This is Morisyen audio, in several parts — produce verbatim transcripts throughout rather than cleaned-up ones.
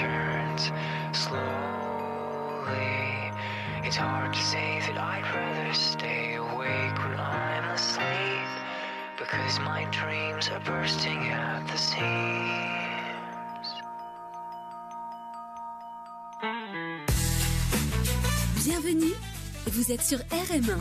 turns slowly. It's hard to say that I'd rather stay awake when I'm asleep, because my dreams are bursting at the seams. Bienvenue, vous êtes sur R M un.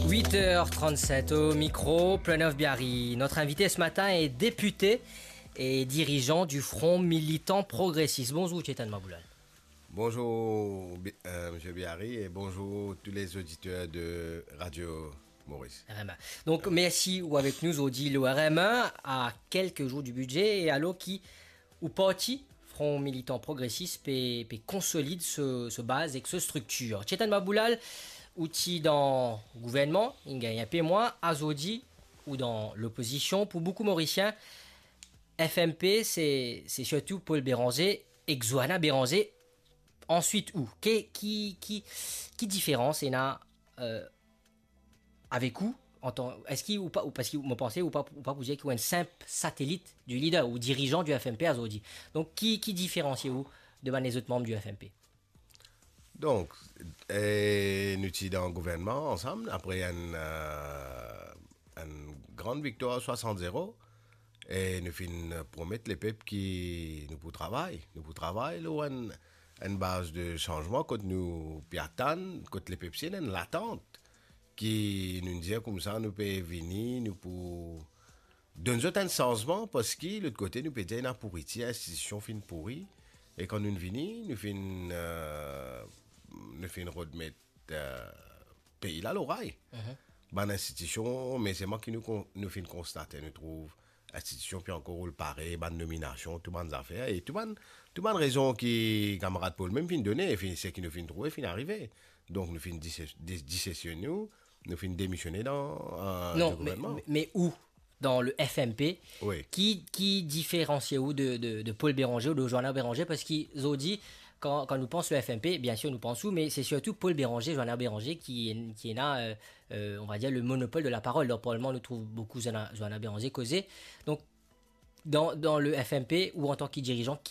Huit heures trente-sept au micro, Pranov Biari. Notre invité ce matin est député et dirigeant du Front Militant Progressiste. Bonjour, Chetan Maboulal. Bonjour, Bi-, euh, Monsieur Biari, et bonjour tous les auditeurs de Radio Maurice. R M un. Donc, merci ou avek nou zordi lor R M un, à quelques jours du budget, e alor ki ou parti Front Militant Progressiste pe, pe konsolid so, so baz ek so striktir. Chetan Maboulal, ou ti dan gouvernman, inn gagn inpe mwa, azordi ou dan lopozision. Pou boukou Morisien, F M P, se, se sirtou Paul Bérenger ek Joanna Bérenger. Answit ou, ki, ki, ki, ki diferans ena, euh, avek ou, antan, eski ou pa, ou, parski mo panse ou pa, ou pa pou dir ki ou enn sinp satelit du leader ou dirigeant du F M P azordi. Donk, ki, ki diferansie ou de bann lezot manm du F M P? Donk, e, nou ti dan gouvernman ansam, apre enn, euh, enn gran viktwar swasant zero, e nou finn promet lepep ki nou pou travay, nou pou travay lor enn, enn baz de sanzman kot nou pe atann, kot lepep si ena enn latant, ki nou dir koumsa nou pe vini, nou pou donn zot enn sanzman, parski lot kote nou pe dir ena pouritir, institision finn pouri, e kan nou vini, nou finn, euh, nou finn remet, euh, pei la lor ray. Mhm. Bann institision, me selman ki nou kon-, nou finn konstate, nou trouv institision pe ankor roul parey, bann nominasion, tou bann zafer, e tou bann, tou bann rezon ki kamarad Paul mem finn done, e finn, seki nou finn trouve, finn arive. Donk nou finn dise-, dis-, disesion nou, nou finn demisione dan, euh, Non, di me, gouvernman. Me, me ou, dan le F M P, Wi. ki, ki diferansie ou de, de, de Paul Bérenger ou de Joanna Bérenger? Parski zordi, kan, kan nou pans le F M P, biensir nou pans ou, me se sirtou Paul Bérenger, Joanna Bérenger ki, ki ena, euh, euh, on va dire, le monopole de la parole. Dan parlman, nou trouv boukou Joanna, Joanna Bérenger koze. Donk, dan, dan le F M P ou antan ki dirigeant,